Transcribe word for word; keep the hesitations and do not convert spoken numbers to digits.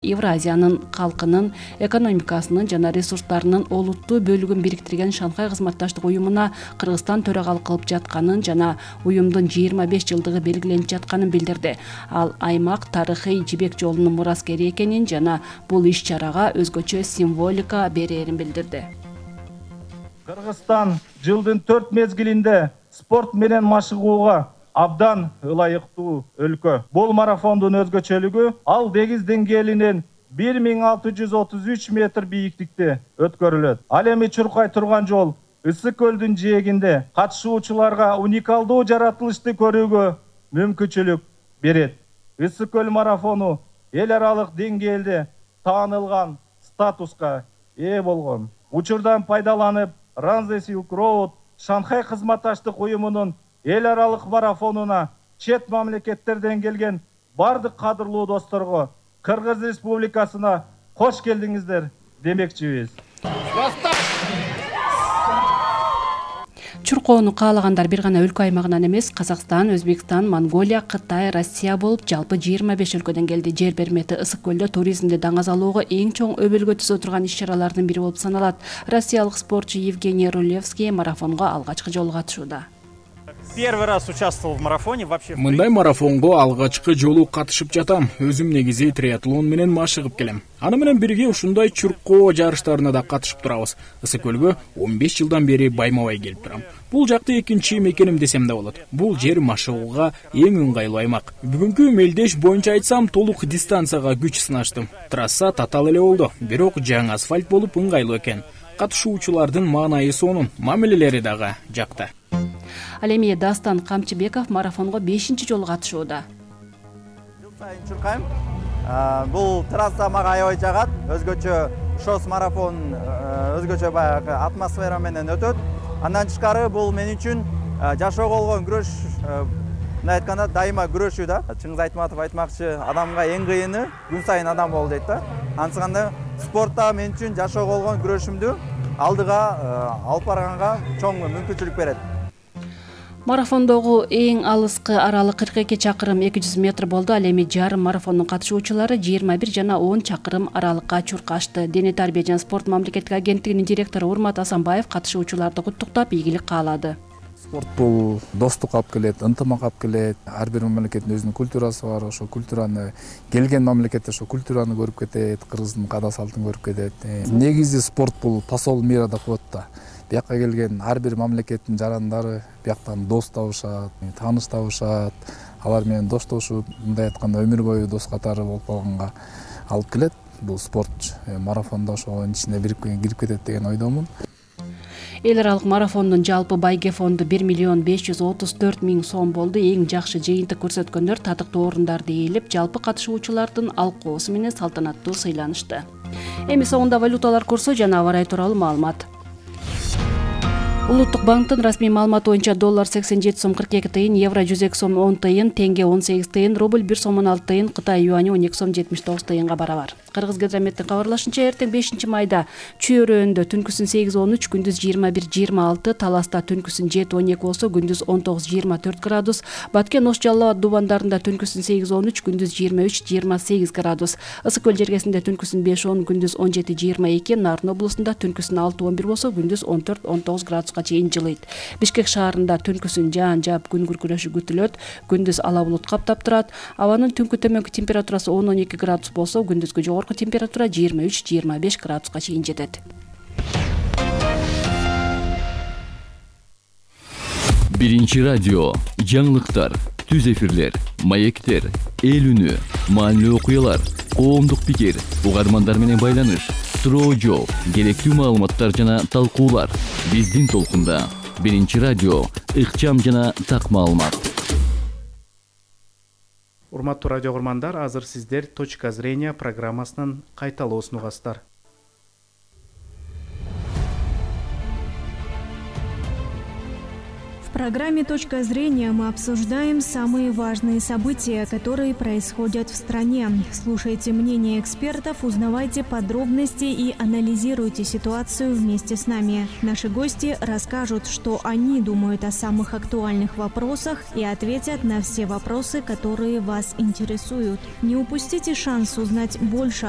Евразиянын калкынын, экономикасынын жана ресурстарынын олуттуу бөлүгүн бириктирген Шанхай кызматташтык уюмуна Кыргызстан төрагалык кылып жатканын жана уюмдун жыйырма беш жылдыгы белгиленип жатканын билдирди. Ал аймак тарыхый жибек жолунун мураскери экенин жана бул иш-чарага өзгөчө символика берээрин билдирди. Кыргызстан жылдын төрт мезгилинде спорт менен машыгууга абдан ылайыктуу өлкө. Бул марафондун өзгөчөлүгү ал деңиз деңгээлинен бир миң алты жүз отуз үч метр бийиктикте өткөрүлөт. Ал эми чуркай турган жол Ысык көлдүн жээгинде катышуучуларга уникалдуу жаратылышты көрүүгө мүмкүнчүлүк берет. Ысык көл марафону эл аралык деңгээлде таанылган статуска ээ болгон. Учурдан пайдаланып, Ранзе Silk Road Шанхай кызматташтык уюмунун эл аралык марафонуна чет мамлекеттерден келген бардык кадырлуу досторго Кыргыз Республикасына кош келдиңиздер демекчибиз. Чуркоону каалагандар бир гана өлкө аймагынан эмес, Казакстан, Өзбекстан, Монголия, Кытай, Россия болуп жалпы жыйырма беш өлкөдөн келди. Жер бермети Ысык көлдө туризмди даңазалоого эң чоң өбөлгө түзө турган иш-чаралардын бири болуп саналат. Россиялык спортчу Евгений Рулевский марафонго алгачкы жолу катышууда. Первый раз участвовал в марафоне вообще. Мындай марафонго алгачкы жолу катышып жатам. Өзүм негизи триатлон менен машыгып келем. Аны менен бирге ушундай чуркоо жарыштарына да катышып турабыз. Ысык көлгө он беш жылдан бери байма-бай келип турам. Бул жакты экинчи мекеним десем да болот. Бул жер машыгууга эң ыңгайлуу аймак. Бүгүнкү мелдеш боюнча айтсам, толук дистанцияга күч сынаштым. Трасса татаал эле болду, бирок жаңы асфальт болуп ыңгайлуу экен. Катышуучулардын маанайы сонун, мамилелери дагы жакты. Ал эми Дастан Камчыбеков марафонго бешинчи жолу катышууда. Жыл сайын чуркайм. Бул трасса мага аябай жагат. Өзгөчө шос марафон өзгөчө баягы атмосфера менен өтөт. Андан тышкары бул мен үчүн жашоого болгон күрөш, мындай айтканда дайыма күрөшүү да. Чыңгыз Айтматов айтмакчы, адамга эң кыйыны күн сайын адам бол дейт да. Ансыганда спортта мен үчүн жашоого болгон күрөшүмдү алдыга алып барганга чоң мүмкүнчүлүк берет. Марафондогу эң алыскы аралык кырк эки чакырым эки жүз метр болду. Ал эми жарым марафондун катышуучулары жыйырма бир жана он чакырым аралыкка чуркашты. Дене тарбия жана спорт мамлекеттик агенттигинин директору Урмат Асанбаев катышуучуларды куттуктап, ийгилик каалады. Спорт бул достук алып келет, ынтымак алып келет. Ар бир мамлекеттин өзүнүн культурасы бар. Ошо культураны келген мамлекетте ошо культураны көрүп кетет, кыргыздын каада салтын көрүп кетет. Негизи спорт бул посол мира деп коет да. Бияка келген ар бир мамлекеттин жарандары бияктан дос табышат, тааныш табышат. Алар менен доштошуп, мындай айтканда өмүр бою дос катары болуп калганга алып келет. Бул спорт марафондо ошонун ичине кирип кетет деген ойдомун. Эл аралык марафондун жалпы байге фонду бир миллион беш жүз отуз төрт миң сом болду. Эң жакшы жыйынтык көрсөткөндөр татыктуу орундарды ээлеп, жалпы катышуучулардын алкоосу менен салтанаттуу сыйланышты. Эми соңунда валюталар курсу жана аба ырайы тууралуу маалымат. Улуттук банктын расмий маалыматы боюнча доллар сексен жети сом кырк эки тыйын, евро жүз эки сом он тыйын, тенге он сегиз тыйын, рубль бир сом он алты тыйын, Кытай юани он эки сом жетимиш тогуз тыйынга барабар. Кыргызгидрометтин кабарлашынча, эртең бешинчи майда Чүйөрөндө түнкүсүн сегиз он үч, күндүз жыйырма бир жыйырма алты, Таласта түнкүсүн жети он эки болсо, күндүз он тогуз жыйырма төрт градус, Баткен Ош Жалал Абад дубандарында түнкүсүн сегиз он үч, күндүз жыйырма үч жыйырма сегиз градус, Ысык көл жергесинде түнкүсүн беш он, күндүз он жети жыйырма эки, Нарын облусунда түнкүсүн алты он бир болсо, күндүз он төрт он тогуз градуска чейин жылыйт. Бишкек шаарында түнкүсүн жаан жаап күн күркүрөшү күтүлөт, күндүз ала булут каптап турат. Абанын түнкү төмөнкү температурасы он он эки градус болсо, күндүзгү жогорку температура жыйырма үч жыйырма беш градуска чейин жетет. Биринчи радио, жаңылыктар, түз эфирлер, маектер, эл үнү, маанилүү окуялар, коомдук пикир, угармандар менен байланыш, суроо жооп, керектүү маалыматтар жана талкуулар. Биздин толкунда Биринчи радио, ыкчам жана так маалымат. Урматтуу радио угармандар, азыр сиздер «Точка зрения» программасынын кайталоосун угасыздар. В программе «Точка зрения» мы обсуждаем самые важные события, которые происходят в стране. Слушайте мнения экспертов, узнавайте подробности и анализируйте ситуацию вместе с нами. Наши гости расскажут, что они думают о самых актуальных вопросах и ответят на все вопросы, которые вас интересуют. Не упустите шанс узнать больше о